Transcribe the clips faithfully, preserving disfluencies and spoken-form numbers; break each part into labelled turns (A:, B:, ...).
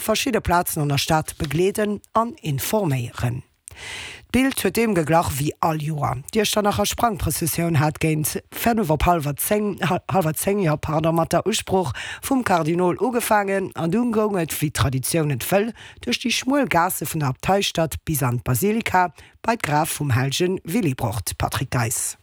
A: verschidde Plazen an der Stad begleeden an informéieren. D'Bild huet deem geglach wéi all Joer. D'Iechternacher Sprangprëssessioun hat géint fënnef op hallwer zéng, hallwer zéng, jo, pardon, mat der Usprooch vum Kardinol ugefaangen an dunn goung et, wéi d'Traditioun et wëll, duerch déi schmuel Gaasse vun der Abteistad bis an d'Basilika bei d'Graf vum Hellegen Willibrord. Patrick Geis.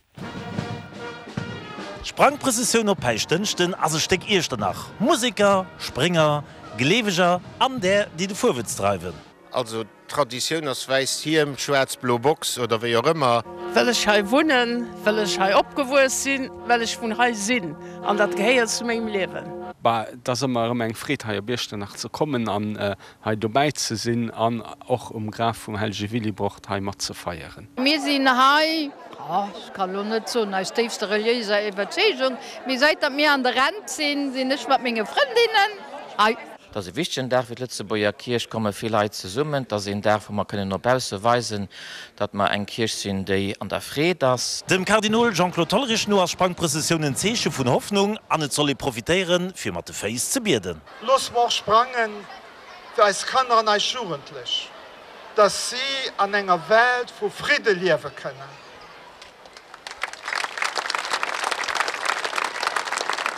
B: D'Sprangprëssessioun op Päischtdënschden ass e Stéck Iechternach, Museker, Sprénger, Gleeweger an där, déi de Fuerwëtz dreiwen.
C: Also d'Traditioun ass wäisst Hiem, schwaarz-blo Box oder wéi och ëmmer.
D: Well ech hei wunnen, well ech hei opgewuess sinn, well ech vun hei sinn an dat gehéiert zu mengem Liewen.
E: Bah, et ass ëmmer erëm eng Freed hei op Iechternach ze kommen an hei dobäi ze sinn an och um Graf vum hellege Willibrord hei mat ze feieren.
F: Mir sinn hei, ech kann elo net soen aus déifster reliéiser Iwwerzeegung, mee säit datt mir an der Rent sinn, sinn ech mat menge Frëndinnen hei.
G: Et ass e wichtegen Dag fir d'Lëtzebuerger Kierch, et komme vill Leit zesummen. Et ass een Dag, wou mer kënnen no bausse weisen, datt mer eng Kierch sinn, déi an der Freed ass.
B: Dem Kardinol Jean-Claude Hollerich no ass d'Sprangprëssessioun en Zeeche vun Hoffnung an et soll ee profitéieren, fir mat de Féiss ze bieden.
H: Loosse mer och sprange fir eis Kanner an eis Jugendlech, datt si an enger Welt vu Fridde liewe kënnen.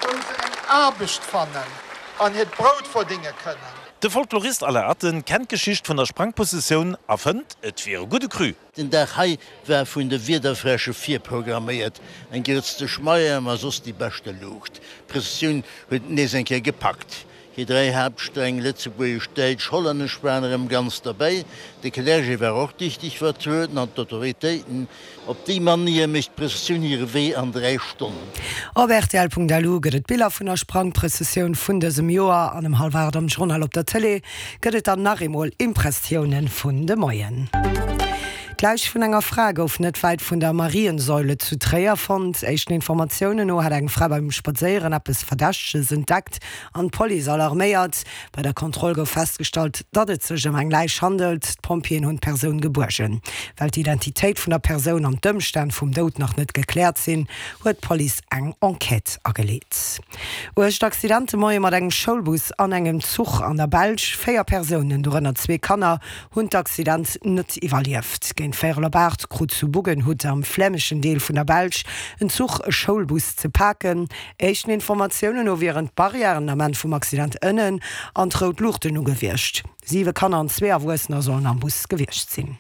H: Wou se eng Aarbecht fannen an hiert Brout verdénge kënnen.
B: De Folklorist Alain Atten kennt d'Geschicht vun der Sprangprëssessioun a fënnt, et wier e gudde Cru.
I: Den Dag hei war vun de Wiederfräsche virprogramméiert, eng Grëtz de Schmeier, ma soss déi beschte Luucht. D'Prëssessioun huet et nees eng Kéier gepackt. Hir dräi Haaptsträng, Lëtzebuergesch, Däitsch, Hollännesch, waren erëm ganz derbäi. De Clergé war och dichteg vertrueden an d'Autoritéiten. Op déi Manier mécht d'Prëssessioun hire Wee an dräi Stonnen.
A: Op rtl.lu gëtt et Biller vun der Sprangprëssessioun vun dësem Joer an ëm hallwer aacht am Journal op der Tëlee gëtt et dann nach eemol Impressioune vun de Moien. D'Läich vun enger Fra gouf net wäit vun der Mariensäule zu Tréier fonnt. Éischten Informatiounen no hat eng Fra beim Spadséieren eppes Verdächteges entdeckt an d'Police alarméiert. Bei der Kontroll gouf festgestallt, datt et sech ëm eng Läich handelt. D'Pompjeeën hunn d'Persoun gebuergen. Well d'Identitéit vun der Persoun an d'Ëmstänn vum Doud nach net gekläert sinn, huet d'Police eng Enquête ageleet. Uergt Accident de Moie mat engem Schoulbus an engem Zuch an der Belsch. Véier Persounen, dorënner zwee Kanner, hunn d'Accident net iwwerlieft. Géint véierel op aacht krut zu Buggenhout am flämeschen Deel vun der Belsch en Zuch e Schoulbus ze paken. Éischten Informatiounen no wieren d'Barrièren den Ament vum Accident ënnen an d'rout Luuchten u gewiescht. Siwe Kanner an zwee Erwuessener sollen am Bus gewiescht sinn.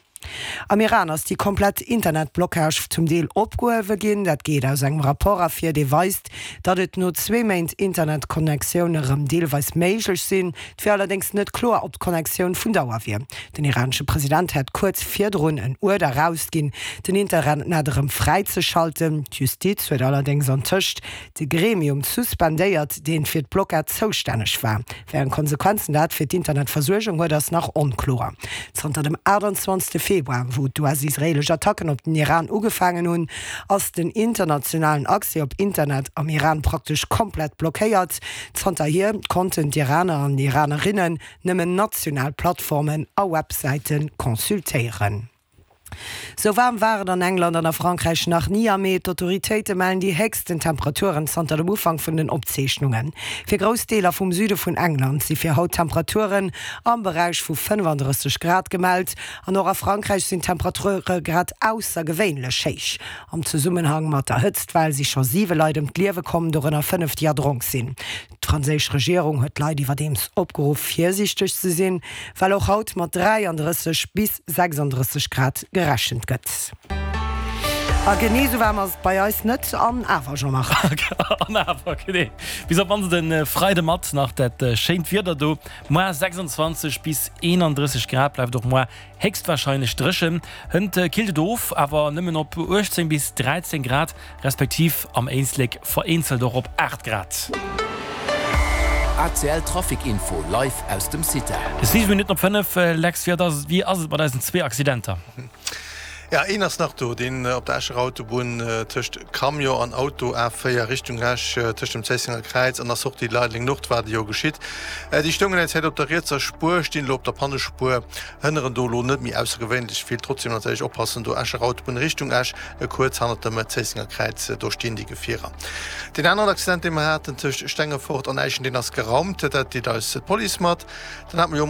A: Am Iran ass déi komplett Internetblockage zum Deel opgehuewe ginn. Dat geet aus engem Rapport ervir, dee weist, datt et no zwee Méint Internetconnectioune rëm deelweis méiglech sinn. Et wier allerdéngs net kloer, ob d'Connectioun vun Dauer wier. Den iranesche President hätt kuerz virdrun en Uerder erausginn, den Internet erëm fräizeschalten. D'Justiz huet allerdéngs antëscht de Gremium suspendéiert, deen fir d'Blockad zoustänneg war. Wéi eng Konsequenzen dat fir d'Internetversuergung huet, ass nach onkloer. Zanter dem achttanzwanzegste Februar, wou d'US-israeelesch Attacken op den Iran ugefaangen hunn, ass den internationalen Accès op Internet am Iran praktesch komplett blockéiert. Zanterhier konnten d'Iraner an Iranerinnen nëmmen national Plattformen a Websäite consultéieren. Sou waarm war et an England an a Frankräich nach ni am Mee. D'Autoritéite mellen déi héchsten Temperaturen zanter dem Ufank vun den Opzeechnungen. Fir grouss Deeler vum Süde vun England si fir haut Temperaturen am Beräich vu fënnefandrësseg Grad gemellt. An och a Frankräich sinn d'Temperature grad aussergewéinlech héich. Am Zesummenhang mat der Hëtztwell si scho siwe Leit ëm d'Liewe komm, dorënner fënnef, déi erdronk sinn. D'franséisch Regierung huet d'Leit iwwerdeems opgeruff, virsiichteg ze sinn, well och haut mat dräiandrësseg bis sechsandrësseg Grad gerechent gëtt. A genee esou waarm ass et bei eis net, an awer, Jean-Marc.
J: An awer, genee. Bis op d'mannst e Freide mat nach dat schéint Wieder do. Moar sechsundzwanzeg bis eenandrësseg Grad, bleift och moar héchstwarscheinlech dréchen. Hënt killt et of, awer nëmmen op uechtzéng bis dräizéng Grad, respektiv am Éislek vereenzelt och op aacht Grad.
K: A C L Trafic Info live aus dem CITEL.
J: Siwe Minutten op fënnef, Lex, wéi ass et mat eisen zwee Accidenter?
L: Ja, een ass nach do, deen op der Escher Autobunn tëscht Camion an Auto, A véier Richtung Esch, tëscht dem Zéissenger Kräiz an der Sortie Leideleng Nord war de jo geschitt. Déi stoungen eng Zäit op der rietser Spuer, stinn elo op der Pannespuer, hënneren do elo net méi aussergewéinlech vill. Trotzdem natierlech oppassen do, Escher Autobunn Richtung Esch, kuerz hannert dem Zéissenger Kräiz, do stinn déi Gefierer. Deen aneren Accident, dee mer haten tëscht Stengefort an Äischen, deen ass geraumt, dat deelt eis d'Police mat. Dann hate mer jo.